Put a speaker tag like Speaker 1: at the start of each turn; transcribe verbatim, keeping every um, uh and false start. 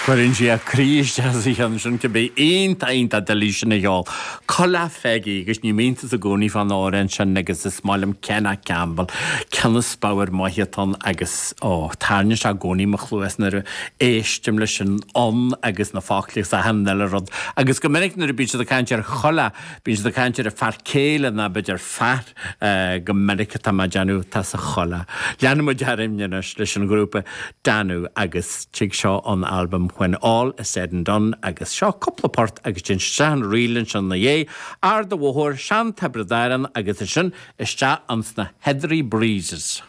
Speaker 1: Cuireann sí a croí isteach sa cheann sin cibé iontach iontach doiligh sin a cheol. Coileach Pheigí agus ní iontas i gcónaí fán amhrán sin agus is maith liom Kenna Campbell, ceann is spiorad maith atá ann agus ó tarraingíonn sé i gcónaí mo chluas nuair a éistim leis an fhonn agus na focla agus achan uile rud. Agus go minic nuair a bíonn siad ag caint ar choileach, bíonn siad ag caint ar a fear céile ná b'fhéidir fear go minic atá mé ag déanamh tá sa choileach. Leanfaidh muid orainn anois leis an ghrúpa Danú agus tig seo an albam When All Is Said and Done agus seo cúpla port agus déan isteach an ríl ansin ina dhiaidh, Ard an Bhóthair, Sean Tiobraid Árann agus ansin isteach anns na Heathery Breezes.